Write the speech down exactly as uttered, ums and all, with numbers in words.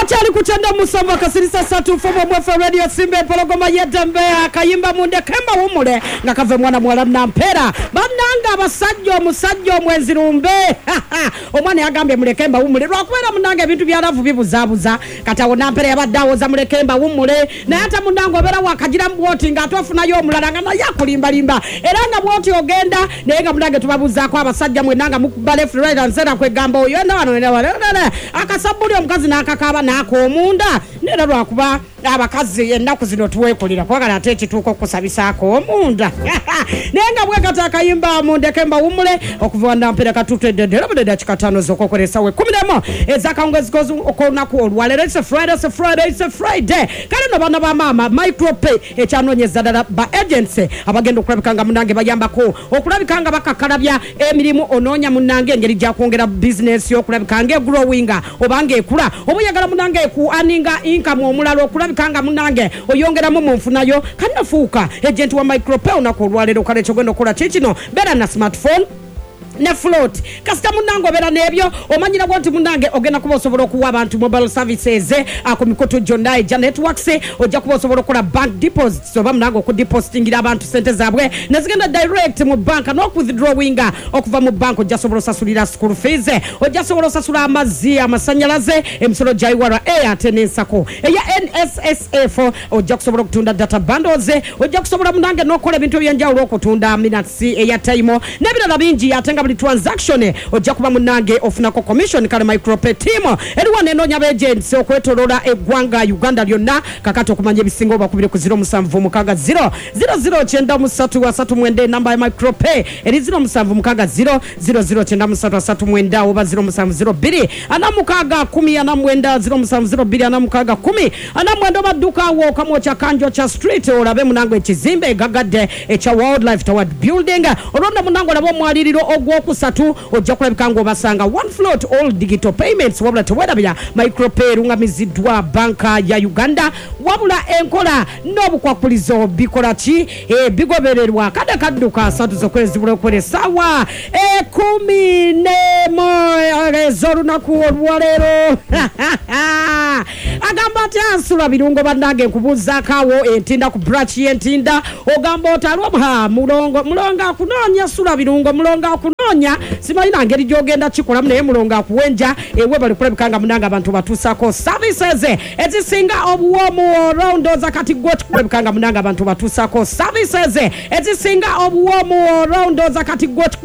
Okyali ku kyenda musanvu akasirisa satu fumu mwefe Radio Simba Empologoma y'eddembe. Akayimba "Mundeke Mbawumule" nga kava mwana muwala Nampeera. Bannanga abasajja, omusajja omwenzi lumbe. Omwana yagambye, "Muleke mbawumule," lwakubeera munnange ebintu bya love bibuzaabuza. Kati awo Nampeera yabadde awoza, "Muleke mbawumule," naye ate munnange obeera wakagiramu bwoti ng'ate ofunayo omulala nga naye akulimbalimba, era nga bwoti ogenda naye nga munnange tubabuuzaako. Abasajja mwenna nga mukuba left, right and center, kwegamba oyo ena wano ena wano ena akasabbuli omukazi n'akakaaba n'akoomunda. Neera lwakuba abakazi ennaku zino tuweekulira kubagala ate ekituuka okusabisaako omunda, naye nga bwekati akayimba "Mundeke Mbawumule" okuva Nampera katutedde era budde dakika ttaano z'okwokwera essaawa ekkumi nemu ez'akawungezi k'olunaku olwaleero. It's a Friday, it's a Friday, it's a Friday. Kale no baana ba maama, Micropay ekyanoonyeza ddala ba agents abagenda okulabika nga munange bayambako okulabika nga bakakkalabya emirimu. Onoonya munange engeri gyakwongera bizinesi okulabika nga egrowinga oba nga ekula, oba oyagala munange eku earninga income omulala okulabika nga munange oyongeramu mu nfunayo, kanafuuka agent wa Micropay olunaku olwaleero. Kale kyogenda okukola kikino: beera na smartphone ne float. Kasita munange obeera n'ebyo, omanyirawo nti munange ogenda kuba osobola okuwa abantu mobile services ah, ku mikutu gyonna egya networks. Ojja kuba osobola okukola bank deposits oba munange okudepositingira abantu sente zaabwe nezigenda direct mu banka n'okuwithdrawinga okuva mu banka. Ojja sobola osasulira school fees, ojja sobola osasula amazzi, amasanyalaze, emisolo gya U R A ate n'ensako eya N S S F. Ojja kusobola okutunda data bundles, ojja kusobola munange n'okukola ebintu ebyenjawulo, okutunda minutes, airtime n'ebirala bingi, ate nga buli transaction ojja kuba munange ofunako commission. Kale Micropay team eri wano enoonya agents okwetoloola eggwanga Uganda lyonna. Kakati okumanya ebisinga obakubire ku zero seven six zero zero zero nine three three nine. Enamba ya Micropay eri zero seven six zero zero zero nine three three nine oba zero seven zero two six four zero nine, zero seven zero two six zero four nine. Oba dduka awo Kamwokya Kanjokya Street, olabe munange ekizimbe egagadde ekya Wildlife Tower Building. Olwonda munange olabe omwaliriro ogwokusatu, ojja kulabika ng'obasanga. One float, all digital payments. Wabula tewerabira, Micropay erungamiziddwa Banka ya Uganda, wabula enkola n'obukwakulizo bikola ki? Eh, bigobererwa. Kadde kadduka asatu zokwezi bulokwera essaawa ekumi nemu ez'olunaku olwaleero. Agamba ati ansula birungo. Bannange, nkubuuzaako awo Entinda, ku branch y'Entinda, ogamba otalwa mulongo? Mulongo akunoonya, sula birungo. Mulongo akunoonya, simanyi na ngeri gyogenda kikolamu, naye mulongo akuwenja ewe bali kulabika nga munange abantu batuusako services ezisinga obuwoomu. Olwondooza kati gwe kulabika nga munange abantu batuusako services ezisinga obuwoomu. Olwondooza kati gwe